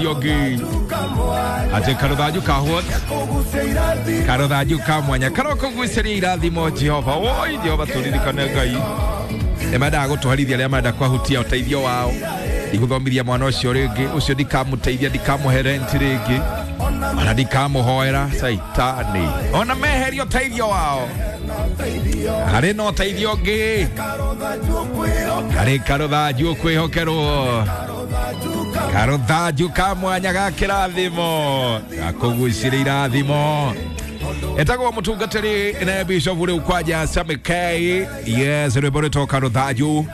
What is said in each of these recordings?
Yogi atä karuthanju ka what karuthanju ka mwanya karokugucĩria irathimo Jehova. Woi Jehova, tũririkane Ngai nĩ mendaga gũtũherithia arĩa marenda kwahutia ũteithio wao. Ndigũthomithia mwana ũcio rĩngĩ, ũcio ndikamũteithia, ndikamũhe rent rĩngĩ, ona ndikamũhoera caitani, ona meheria ũteithio wao. Harĩ na ũteithio ũngĩ, harĩ karũthanju ũkwĩhokerwo, karũthanju ka mwanya ga kĩrathimo gakũgucĩria irathimo. Etagwo mũtungatĩri na bishop rĩu kwanja Sammy K. Yes, rwĩmbo rwĩtwo karũthanju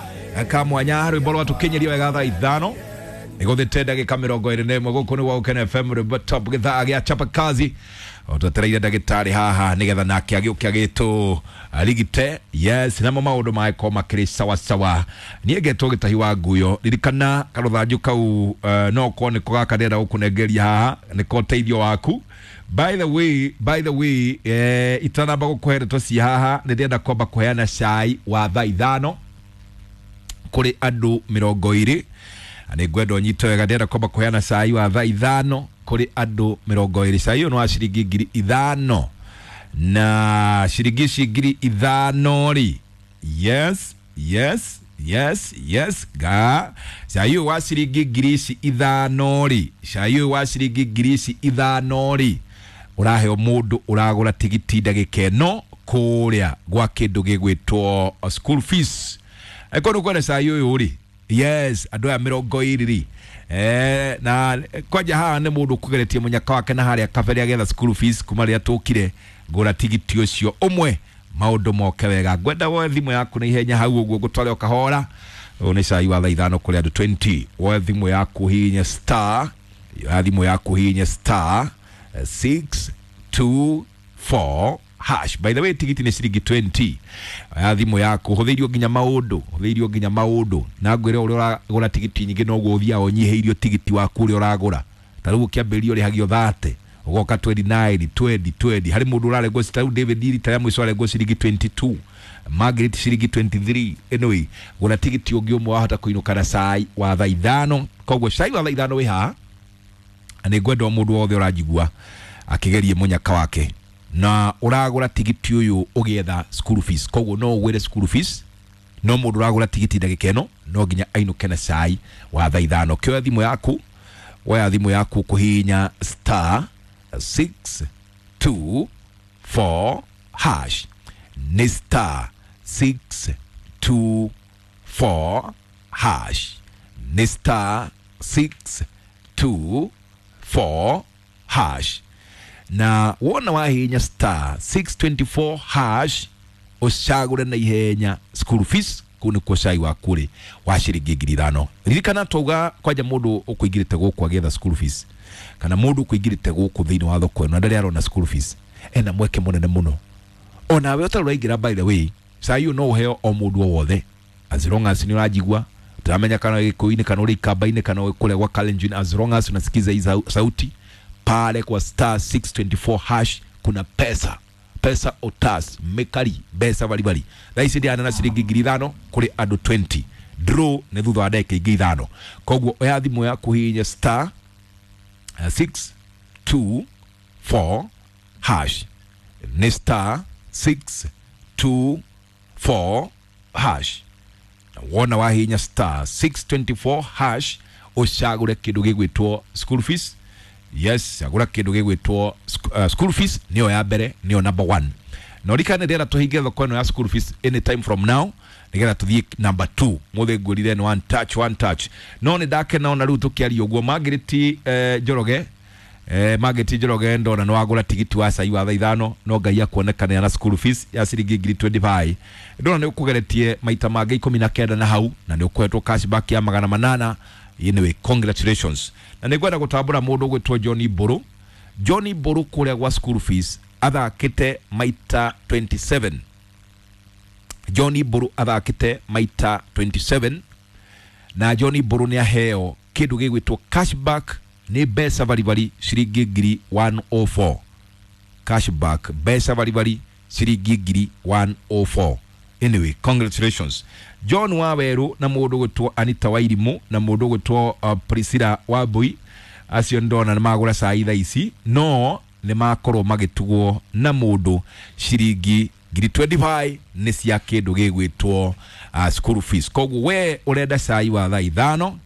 ka mwanya, rwĩmbo rwatũkinyĩria wega thaa 5 nĩgũthĩte ndagĩka 21. Gũkũ nĩ gwa Gũkena FM, rwĩmbo top, gĩthaa gĩa chapa kazi. Twetereire ndagĩtarĩ haha nĩgetha nake agĩũke agĩtũ rigite. Yes, namo maũndũ magĩkorwo makĩrĩ sawa sawa. Niĩ ngetwo Gĩtahi wa Nguyo. Ririkana karũthanju kau, no korwo nĩko gaka ndĩrenda gũkũnengeria haha, nĩko ũteithio waku. By the way, itanamba gũkũhe ndeto ci haha, nĩ ndĩrenda kwamba kũheana cai wa thaa 5 kũrĩ andũ 20. Nĩ ngwenda ũnyite wega, ndĩrenda kwamba kũheana cai wa thaa 5 kũrĩ andũ 20. Cai ũyũ nĩ wa ciringi 5,000, na ciringi ici 5,000 rĩ, yes, ga cai ũyũ wa ciringi ngiri ici ithano rĩ, cai ũyũ wa ciringi ngiri ici ithano rĩ, ũraheo mũndũ ũragũra tigiti ndagĩka ĩno kũrĩa gwa kĩndũ gĩgwĩtwo school fees. Angĩkorwo nĩ ũkwenda cai ũyũ rĩ, yes, andũ aya 20 rĩ, na kwanja haha nĩ mũndũ ũkũgeretie mũnyaka wake na harĩa kabere agetha school fees kuma rĩrĩa tũkire. Ngũra tigiti ũcio ũmwe, maũndũ moke wega. Ngwenda woe thimũ yaku na ihenya hau ũguo ngũtware o kahora. Ũyũ nĩ cai wa thaa 5 kũrĩ andũ 20. Woe thimũ yaku, hihinye star ya thimũ yaku, hihinye star 624 hash. By the way, tigiti nĩ ciringi 20. Ya thimũ yaku, hũthĩirio nginya maũndũ, hũthĩirio nginya maũndũ, na ngwĩre ũrĩa ũragũra tigiti nyingĩ noguo ũthiaga ũnyihĩirio tigiti waku ũrĩa ũragũra. Ta rĩu ũkĩambĩrĩria ũrĩhagio 30, ũgoka 29, 20, 20. Harĩ mũndũ ũrarengwo ta rĩu David rita rĩa mũico arengwo ciringi 22, Margaret ciringi 23. Anyway, gũra tigiti ũngĩ ũmwe, wahota kũinũka na cai wa thaa 5. Koguo cai wa thaa 5 wĩ haha, na nĩ ngwenda o mũndũ wothe ũranjigua akĩgerie mũnyaka wake na ũragũra tigiti ũyũ ũgĩetha school fees. Koguo no ũgwĩre school fees, no mũndũ ũragũra tigiti ndagĩka ĩno no nginya ainũke na cai wa thaa 5. Kĩoya thimũ yaku, woya thimũ yaku kũhihinya star 624 hash. Nĩ star 624 hash, nĩ star 624 hash. Na wona wahihinya star 624 hash, ũcagũre na ihenya school fees. Kũu nĩkuo cai waku rĩ wa ciringi 5,000. Ririkana twauga kwanja mũndũ ũkũingĩrĩte gũkũ agĩetha school fees, kana mũndũ ũkũingĩrĩte gũkũ thĩinĩ wa thoko ĩno na ndarĩ arona school fees, ena mweke mũnene mũno onawe ũtarĩ ũraingĩra. By the way, cai ũyũ no ũheo o mũndũ o wothe, as long as nĩ ũranjigua. Ndĩramenya kana gĩkũyũ-inĩ, kana ũrĩ ikamba-inĩ, kana ũrĩ kũrĩa gwa Kalenjin, as long as unasikiza hii sauti pale kwa star 624 hash, kuna pesa, pesa otas mekari mbeca baribari. Thaa ici ndĩrana na ciringi 5,000 kũrĩ andũ 20. Draw nĩ thutha wa ndagĩka ingĩ 5. Koguo oya thimũ yaku, hihinya star 624 hash. Nĩ star 624 hash. Na wona wahihinya star 624 hash, ũcagũre kĩndũ gĩgwĩtwo school fees. Yes, cagũra kĩndũ gĩgwĩtwo school fees, nĩyo ya mbere, nĩyo number one. Na ũririkane ndĩrenda tũhinge thoko ĩno ya school fees anytime from now, nĩgetha tũthiĩ number two. Mũthĩ ngwĩrire nĩ one touch, one touch. No nĩ ndakena ona rĩu tũkĩaria ũguo, Margaret Njoroge, Margaret Njoroge, ndona nĩ wagũra tigiti wa cai wa thaa 5. No Ngai akuonekanĩra na school fees ya ciringi ngiri 25. Ndona nĩ ũkũgeretie maita mangĩ 19 na hau, na nĩ ũkũhetwo cashback ya 800. Anyway, congratulations. Na nĩ ngwenda gũtambũra mũndũ ũgwĩtwo John Mbũrũ. John Mbũrũ kũrĩa gwa school fees athakĩte maita 27. John Mbũrũ athakĩte maita 27, na John Mbũrũ nĩ aheo kĩndũ gĩgwĩtwo cashback, nĩ mbeca baribari ciringi ngiri 104. Cashback mbeca baribari ciringi ngiri 104. Anyway, congratulations, John Waweru, na mũndũ gwĩtwo Anita Wairimu, na mũndũ gwĩtwo Priscilla Wambui. Acio ndona nĩ magũra cai thaa ici, no nĩ makorwo magĩtugwo na mũndũ ciringi ngiri 25 nĩ cia kĩndũ gĩgwĩtwo school fees. Koguo we ũrenda cai wa thaa ithano,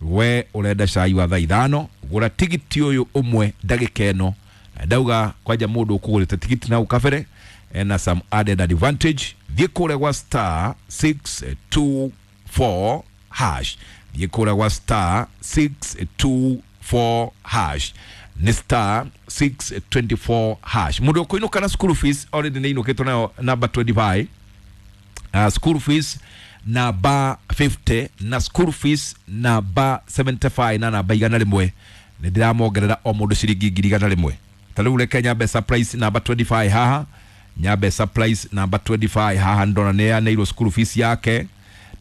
we ũrenda cai wa thaa ithano, gũra tigiti ũyũ ũmwe ndagĩka ĩno. Na ndauga kwanja mũndũ ũkũgũrĩte tigiti na kabere ena some added advantage. Thiĩ kũrĩa gwa star 624 hash, thiĩ kũrĩa gwa star 624 hash, nĩ star 624 hash. Mũndũ ũkũinũka na school fees already nĩ inũkĩtwo nayo number 25, school fees namba 50 na school fees namba 75 na namba 100, nĩ ndĩramongerera o mũndũ ciringi 100,000. Ta rĩu reke nyambe surprise namba 25 haha, nyambe surprise namba 25 haha, ndona nĩ yaneirwo school fees yake.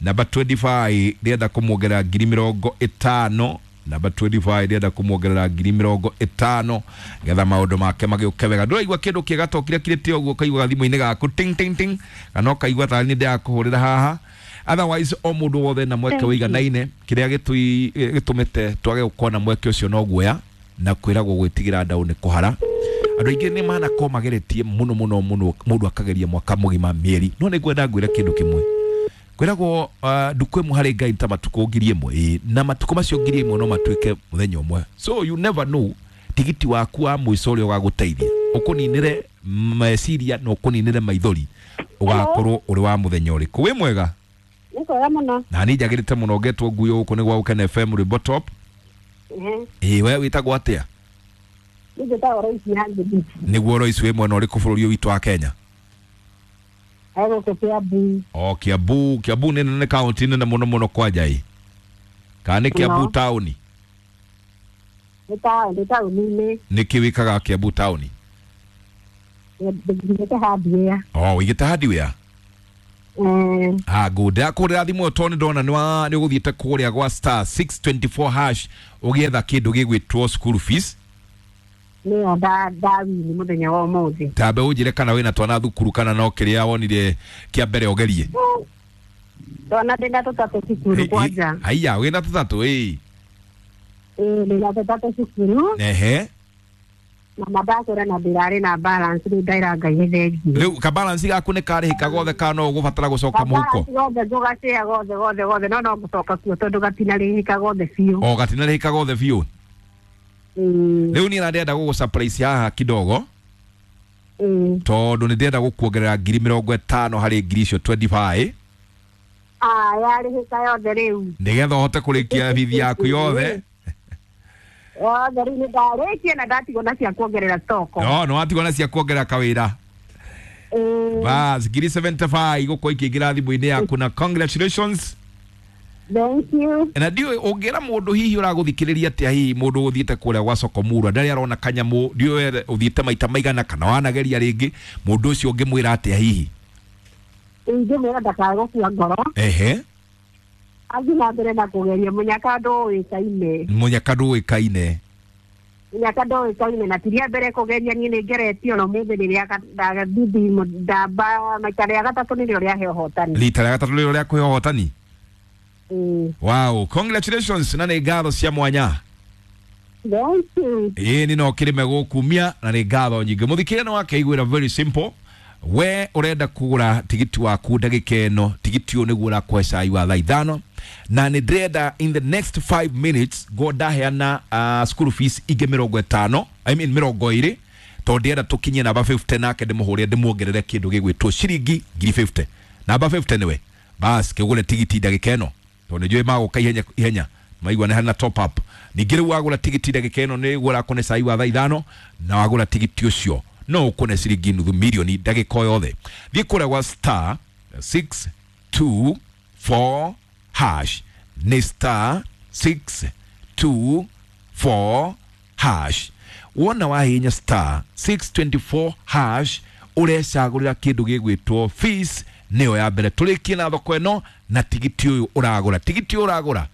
Namba 25 ndĩrenda kũmuongerera 50,000. Namba 25 ndĩrenda kũmuongerera 50,000 getha maũndũ make magĩũke wega. Ndũraigua kĩndũ kĩega to kĩrĩa kĩrĩte ũguo ũkaigua thimũ-inĩ gaku ting ting ting, kana ũkaigua tarĩ niĩ ndĩrakũhũrĩra haha. Otherwise o mũndũ wothe na mweke wĩiganaine, kĩrĩa gĩtũmĩte twage gũkorwo na mweke ũcio no guoya na kwĩragwo gwĩtigĩra ndaũ nĩ kũhara. Andũ aingĩ nĩ manakorwo mageretie mũno mũno mũno, mũndũ akageria mwaka mũgima mĩeri, no nĩ ngwenda ngwĩre kĩndũ kĩmwe. Kwĩragwo ndukũ ĩmwe harĩ Ngai ta matukũ 1,000, ĩĩ, na matukũ macio 1,000 no matuĩke mũthenya ũmwe. So you never know tigiti waku wa mũico ũrĩa ũgagũteithia ũkũninĩre meciria na ũkũninĩre maithori, ũgakorwo ũrĩ wa mũthenya ũrĩkũ. Wĩ mwega? Nĩ kwega mũno. Na niĩ njagĩrĩte mũno ngetwo nguo gũkũ nĩ gwa Gũkena FM Rwĩmbo Top. Ĩĩ, we wĩtagwo atĩa? Niĩ njĩtagwo Royce ya Ngĩthi. Nĩguo Royce, wĩ mwena ũrĩkũ bũrũri ũyũ witũ wa Kenya? Gũkũ Kiambu. O Kiambu. Kiambu nĩ nene, kaunti nene mũno mũno kwanja ĩ, kana nĩ Kiambu No. taũni? Nĩ taũni-inĩ. Nĩkĩ wĩkaga Kiambu taũni? Ndĩigĩte hardware. O wĩigĩte hardware? Ah, good. Ndakũhũrĩra thimũ ĩyo tondũ nĩ ndona nĩ ũgũthiĩte kũrĩa gwa star 624 hash ũgĩetha kĩndũ gĩgwĩtwo school fees. Nĩyo ndawini mũthenya wa ũmũthĩ. Tambe ũnjĩre kana wĩna twana thukuru kana no kĩrĩa wonire kĩa mbere ũgerie. Twana ndĩna tũtatũ cukuru kwanja. Haiya, wĩna tũtatũ ĩ? Ĩĩ, ndĩna tũtatũ cukuru. Ehe. Na mandakwĩra na ndĩrarĩ na balance, rĩu ndaĩra Ngai nĩ thengiũ. Rĩu kabalance gaku nĩ karĩhĩka gothe kana no ũgũbatara gũcoka mũhuko? Kabalance gothe ngũgacĩa gothe gothe gothe, no ngũcoka kuo tondũ gatinarĩhĩka gothe biũ. O gatinarĩhĩka gothe biũ. Ĩĩ. Rĩu niĩ na ndĩrenda gũgũ surprise haha kidogo. Ĩĩ. Tondũ nĩ ndĩrenda gũkuongerera 50,000 harĩ ngiri icio 25. Ah, yarĩhĩka yothe rĩu. Nĩgetha ũhote kũrĩkia bithi yaku yothe. Yothe rĩu nĩ ndarĩkia na ndatigwo na cia kuongerera stoko. No, nĩ watigwo na cia kuongerera kawĩra. Ĩĩ. Bas, ngiri 75 igũkorwo ikĩingĩra thimũ-inĩ yaku na congratulations. Thank you. Na ndiũĩ ũngĩra mũndũ hihi ũragũthikĩrĩria atĩa, hihi mũndũ ũthiĩte kũrĩa gwa Sokomurwa ndarĩ arona kanyamũ, ndiũĩ ũthiĩte maita maigana kana wanageria rĩngĩ, mũndũ ũcio ũngĩmwĩra atĩa hihi? Ingĩmwĩra ndakae gũkua ngoro. Ehe. Athiĩ na mbere na kũgeria, mũnyaka ndũĩkaine. Mũnyaka ndũĩkaine. Mũnyaka ndũĩkaine na ti rĩa mbere kũgeria, niĩ nĩ ngeretie ona ũmũthĩ rĩrĩa ndathiĩ ndamba maita rĩa gatatũ nĩrĩo rĩahe ũhotani. Rita rĩa gatatũ nĩrĩo rĩakũhe ũhotani? Ĩĩ. Wow, congratulations na nĩ ngatho cia mwanya. Thank you. Ĩĩ, nĩ no kĩrĩme gũkumia na nĩ ngatho nyingĩ. Mũthikĩrĩria nĩ wakeiguĩra, very simple. We ũrenda kũgũra tigiti waku ndagĩka ĩno, tigiti ũyũ nĩguo ũrakũhe cai wa thaa ithano, na nĩ ndĩrenda in the next 5 minutes ngo ndaheana school fees ingĩ 50, I mean 20, tondũ ndĩrenda tũkinyie namba 50, nake ndĩmũhũrĩre ndĩmuongerere kĩndũ gĩgwĩtwo ciringi ngiri 50. Namba 50 nĩwe bas kĩgũre tigiti ndagĩka ĩno, tondũ nĩnjũĩ magũka ihenya ihenya maigua nĩ harĩ na top up. Ningĩ rĩu wagũra tigiti ndagĩka ĩno nĩ ũrakũne cai wa thaa ithano, na wagũra tigiti ũcio no ũkũne ciringi 500,000 ndagĩka o yothe. Thiĩ kũrĩa gwa star 624 hash, nĩ star 624 hash. Wona wahihinya star 624 hash ũrecagũrĩra kĩndũ gĩgwĩtwo fees, nĩyo ya mbere tũrĩkie na thoko ĩno na tigiti ũyũ ũragũra. Tigiti ũyũ ũragũra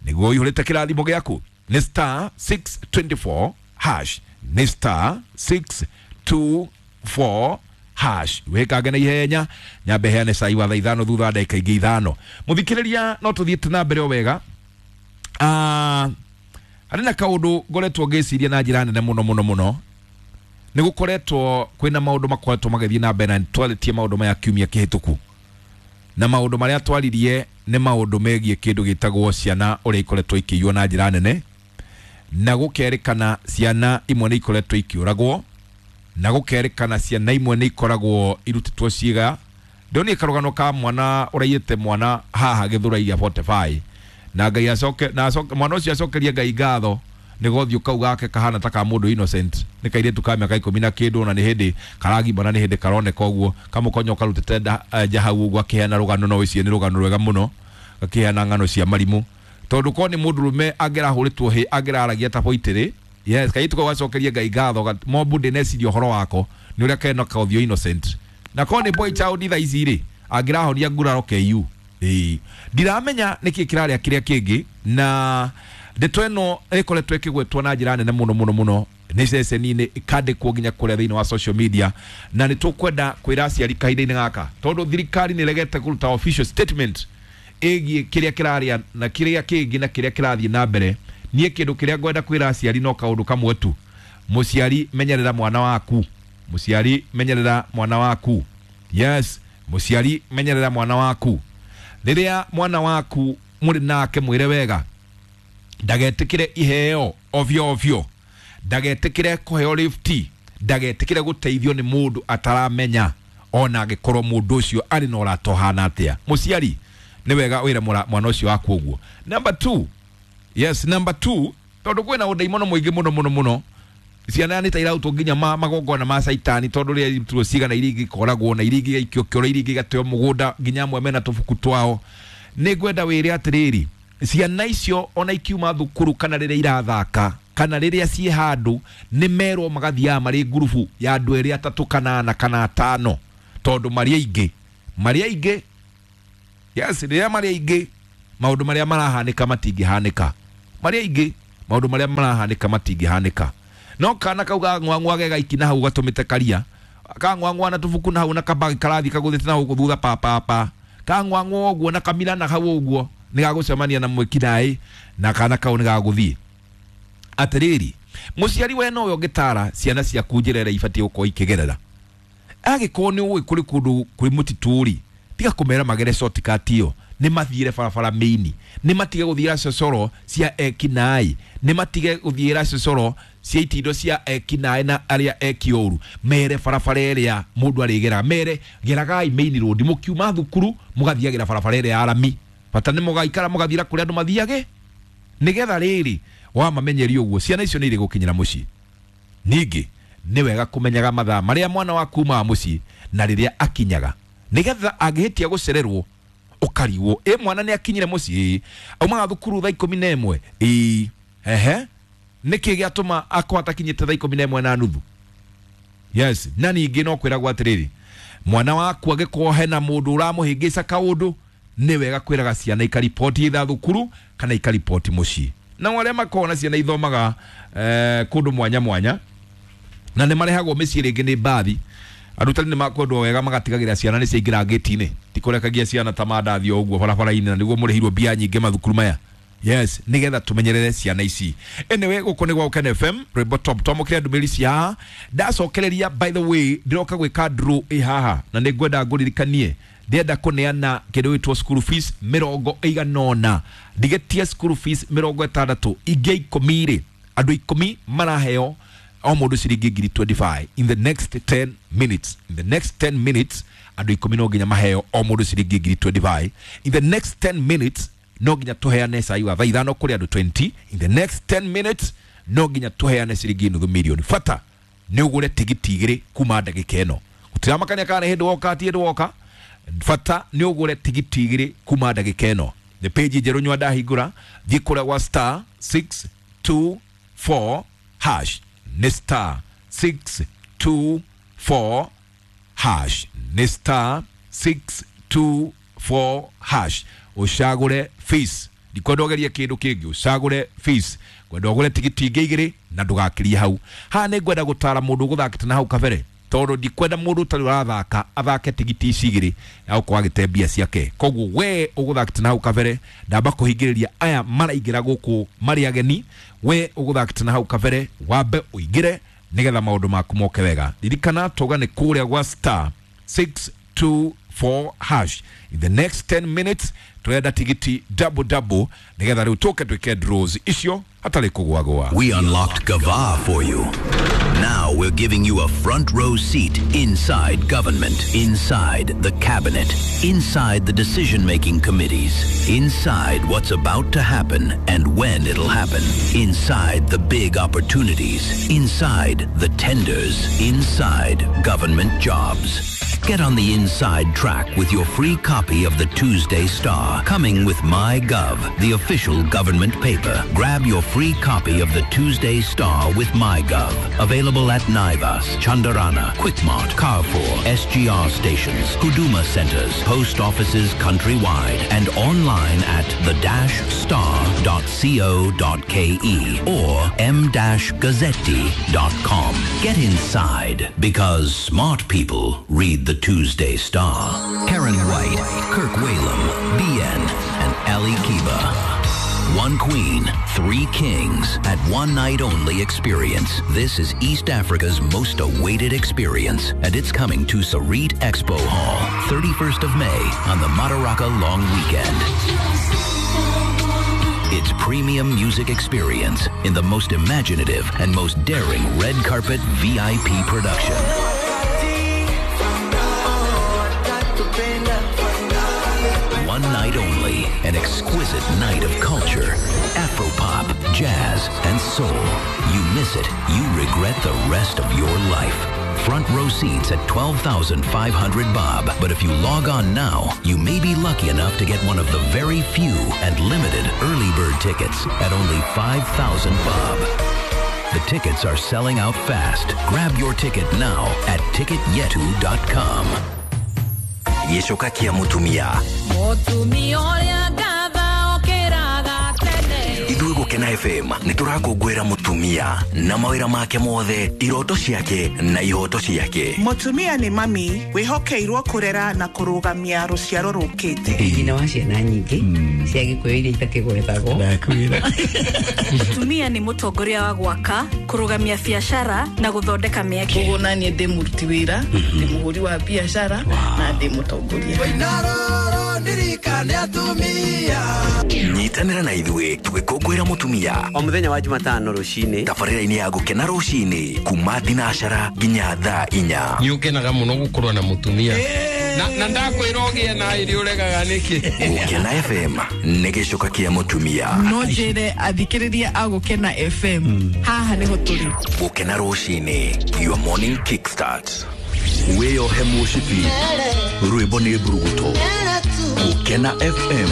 nĩguo ũihũrĩte kĩrathimo gĩaku, nĩ star 624 hash, nĩ star 624 hash. Wĩkange na ihenya nyambe heane cai wa thaa ithano thutha wa ndagĩka ingĩ ithano. Mũthikĩrĩria, no tũthiĩte na mbere o wega. Harĩ na kaũndũ ngoretwo ngĩciria na njĩra nene mũno mũno mũno. Nĩ gũkoretwo kwĩna maũndũ makoretwo magĩthiĩ na mbere na nĩtwarĩtie maũndũ maya kiumia kĩhĩtũku. Na maũndũ marĩa twaririe nĩ maũndũ megiĩ kĩndũ gĩtagwo ciana ũrĩa ikoretwo ikĩiywo na njĩra nene, na gũkerĩkana ciana imwe nĩ ikoretwo ikĩũragwo, na gũkerĩkana ciana imwe nĩ ikoragwo irutĩtwo ciĩga. Ndonire karũgano ka mwana ũraiyĩte mwana haha Gĩthũrai gĩa 45 na Ngai acoke na acoke mwana ũcio acokerie Ngai ngatho nĩ gothiũ kau gake kahana ta ka mũndũ innocent, nĩ kairĩtu ka mĩaka 10 na kĩndũ, na nĩ hĩndĩ karagimana, nĩ hĩndĩ karoneka ũguo kamũkonyo karutĩte nja hau ũguo akĩheana rũgano, no wĩcirie nĩ rũgano rwega mũno, akĩheana ng'ano cia marimũ, tondũ korwo nĩ mũndũrũme angĩrahũrĩtwo hĩ angĩraragia ta boitĩrĩ. Yes, kairĩtu kau gacokerie Ngai ngatho mombu ndĩneciria ũhoro wako nĩ ũrĩa kena kaũthiũ innocent, na korwo nĩ boy child thaa ici rĩ angĩrahonia nguraro KU. Ndiramenya nĩkĩ kĩrarĩa kĩrĩa kĩngĩ, na ndeto ĩno ĩkoretwo ĩkĩgwetwo na njĩra nene mũno mũno mũno nĩ ceceni-inĩ, ĩkandĩkwo nginya kũrĩa thĩinĩ wa social media, na nĩ tũkwenda kwĩra aciari kahinda-inĩ gaka, tondũ thirikari nĩ ĩregete kũruta official statement ĩgiĩ kĩrĩa kĩrarĩa na kĩrĩa kĩngĩ na kĩrĩa kĩrathiĩ na mbere. Niĩ kĩndũ kĩrĩa ngwenda kwĩra aciari no kaũndũ kamwe tu: mũciari menyerera mwana waku, mũciari menyerera mwana waku. Yes, mũciari menyerera mwana waku. Rĩrĩa mwana waku mũrĩ nake mwĩre wega ndagetĩkĩre iheo ovyo ovyo, ndagetĩkĩre kũheo lift, ndagetĩkĩre gũteithio nĩ mũndũ ataramenya, ona angĩkorwo mũndũ ũcio arĩ na ũrata ũhana atĩa. Mũciari nĩ wega wĩre mwana ũcio waku ũguo. Number 2, yes, number 2, tondũ kwĩna ũndaimono mũingĩ mũno mũno mũno, ciana nĩ ta irautwo nginya magongona ma caitani, tondũ rĩrĩa irutirwo cigana iria ingĩ ikoragwo na iria ingĩ igaikio kĩoro, iria ingĩ igateo mũgũnda, nginya amwe mena tũbuku twao. Nĩ ngwenda wĩre atĩrĩrĩ, ciana icio ona ikiuma thukuru kana rĩrĩa irathaka kana rĩrĩa ciĩ handũ, nĩ merwo magathiaga marĩ ngurubu ya andũ erĩ atatũ kana ana kana atano, tondũ marĩ aingĩ, marĩ aingĩ. Yes, rĩrĩa marĩ aingĩ maũndũ marĩa marahanĩka matingĩhanĩka, marĩ aingĩ maũndũ marĩa marahanĩka matingĩhanĩka. No kana kau gang'wang'wa ge gaiki na hau gatũmĩte karia kang'wang'wa na tũbuku na hau na kabagi karathi kagũthĩte na hau thutha papapa kang'wang'wa ũguo na kamira na hau ũguo nĩ gagũcemania na mwĩkinaĩ na kana kau nĩ gagũthiĩ. Atĩrĩrĩ, mũciari we nowe ũngĩtara ciana ciaku njĩra ĩrĩa ibatiĩ gũkorwo ikĩgerera. Angĩkorwo nĩ ũĩ kũrĩ kũndũ kwĩ mũtitũ rĩ, tiga kũmera magere shortcut ĩyo, nĩ mathiĩre barabara mĩini, nĩ matige gũthiĩra cocoro cia ekinaĩ, nĩ matige gũthiĩra cocoro cia itindo cia ekinaĩ na arĩa eki ũru. Mere barabara ĩrĩa mũndũ arĩgeraga, mere geragai main road, mũkiuma thukuru mũgathiagĩra barabara ĩrĩa ya rami, bata nĩ mũgaikara mũgathiĩra kũrĩa andũ mathiage, nĩgetha rĩrĩ wamamenyeria ũguo ciana icio nĩ irĩ gũkinyĩra mũciĩ. Ningĩ nĩ wega kũmenyaga mathaa marĩa mwana waku umaga mũciĩ na rĩrĩa akinyaga, nĩgetha angĩhĩtia gũcererwo ũkarigwo, ĩ mwana nĩ akinyire mũciĩ, aumaga thukuru thaa 11, ĩ ehe, nĩkĩ gĩatũma akorwo atakinyĩte thaa 11:30? Yes, na ningĩ no kwĩragwo atĩrĩrĩ, mwana waku angĩkorwo hena mũndũ ũramũhĩngĩca kaũndũ, nĩ wega kwĩraga ciana ikariboti ithaa thukuru kana ikariboti mũciĩ. Na arĩa makoragwo na ciana ithomaga kũndũ mwanya mwanya na nĩ marehagwo mĩciĩ rĩngĩ nĩ mbathi, arutani nĩ makwendwo wega magatigagĩra ciana nĩ ciaingĩra ngĩti-inĩ, ti kũrekagia ciana ta mandathi o ũguo barabara-inĩ, na nĩguo mũrĩhirwo mbia nyingĩ mathukuru maya. Yes, nĩgetha tũmenyerere ciana ici. Anyway, gũkũ nĩ gwa Ũkene FM, rwĩmbo top twamũkĩre ndũmĩrĩri cia haha. Ndacokereria, by the way, ndĩroka gwĩka draw ĩ haha, na nĩ ngwenda ngũririkanie ndĩrenda kũneana kĩndũ gĩtwo school fees 80, ndigetie school fees 60, ingĩ 10 rĩ, andũ 10 maraheo o mũndũ ciringi ngiri 25 in the next 10 minutes. In the next 10 minutes andũ 10 no nginya maheo o mũndũ ciringi ngiri 25. In the next 10 minutes no nginya tũheane cai wa thaa 5 kũrĩ andũ 20. In the next 10 minutes no nginya tũheane ciringi nuthu milioni. Bata nĩ ũgũre tigiti 2 kuma ndagĩka ĩno, gũtiramakania kana nĩ hĩndĩ woka ti hĩndĩ woka. Bata nĩ ũgũre tigiti 2 kuma ndagĩka ĩno. Nĩ page njerũ nyua ndahingũra, thiĩ kũrĩa gwa star 624 hash, nĩ star 624 hash, nĩ star 624 hash, ũcagũre fees. Ndikwenda ũgerie kĩndũ kĩngĩ, ũcagũre fees. Ngwenda ũgũre tigiti ingĩ 2 na ndũgakĩrie hau. Haha nĩ ngwenda gũtara mũndũ ũgũthakĩte na hau kabere, tondũ ndikwenda mũndũ ũtarĩ ũrathaka athake tigiti ici 2 na gũkorwo agĩte mbia ciake. Koguo we ũgũthakĩte na hau kabere, ndamba kũhingĩrĩria aya maraingĩra gũkũ marĩ ageni, We ũgũthakĩte na hau kabere wambe ũingĩre nĩgetha maũndũ maku moke wega. Ririkana tauga nĩ kũrĩa gwa star 624 hash. In the next 10 minutes turenda tigiti double double nĩgetha rĩu tũke twĩke draws icio hatarĩ kũgwagwa. We unlocked Gava for you. Now we're giving you a front row seat inside government, inside the cabinet, inside the decision making committees, inside what's about to happen and when it'll happen, inside the big opportunities, inside the tenders, inside government jobs. Get on the inside track with your free copy of the Tuesday Star, coming with MyGov, the official government paper. Grab your free copy of the Tuesday Star with MyGov. Available at Naivas, Chandarana, Quickmart, Carrefour, SGR stations, Huduma centers, post offices countrywide, and online at the-star.co.ke or m-gazzetti.com. Get inside because smart people read the Tuesday Star. Karen White, Kirk Whalum, BN, and Ali Kiba. One queen, three kings at one night only experience. This is East Africa's most awaited experience, and it's coming to Sarit Expo Hall, 31st of May on the Madaraka Long Weekend. It's premium music experience in the most imaginative and most daring red carpet VIP production. One night only, an exquisite night of culture, Afropop, jazz, and soul. You miss it, you regret the rest of your life. Front row seats at 12,500 bob. But if you log on now, you may be lucky enough to get one of the very few and limited early bird tickets at only 5,000 bob. The tickets are selling out fast. Grab your ticket now at ticketyetu.com. Gĩcoka kĩa mũtumia. Mũtumia ũrĩa ngatha okĩraga tene. Ithuĩ Gũkena FM nĩ tũrakũngũĩra mũtumia na mawĩra make mothe, iroto ciake na ihoto ciake. Mũtumia nĩ mami wĩhokeirwo kũrera na kũrũgamia rũciaro rũkĩte. Nyina wa ciana nyingĩ cia Gĩkũyũ iria itakĩgwetagwo. Mũtumia nĩ mũtongoria wa gwaka, kũrũgamia biacara na gũthondeka mĩeke. Koguo naniĩ ndĩ mũruti wĩra, ndĩ mũhũri wa biacara na ndĩ mũtongoria. Nyitanĩra na ithuĩ tũgĩkũngũĩra mũtumia o mũthenya wa Jumatano rũcinĩ tabarĩra-inĩ ya Gũkena rũcinĩ kuma thinacara nginya thaa 4. Nĩ ũkenaga mũno gũkorwo na mũtumia na ndakwĩra ũgĩe na irio ũregaga nĩkĩ. Gũkena FM nĩ gĩcoka kĩa mũtumia. No njĩre athikĩrĩria a Gũkena FM haha nĩho tũrĩ. Gũkena rũcinĩ, your morning kickstart. Wĩyohe mũcibi, rwĩmbo nĩ mburuguto. Gũkena FM.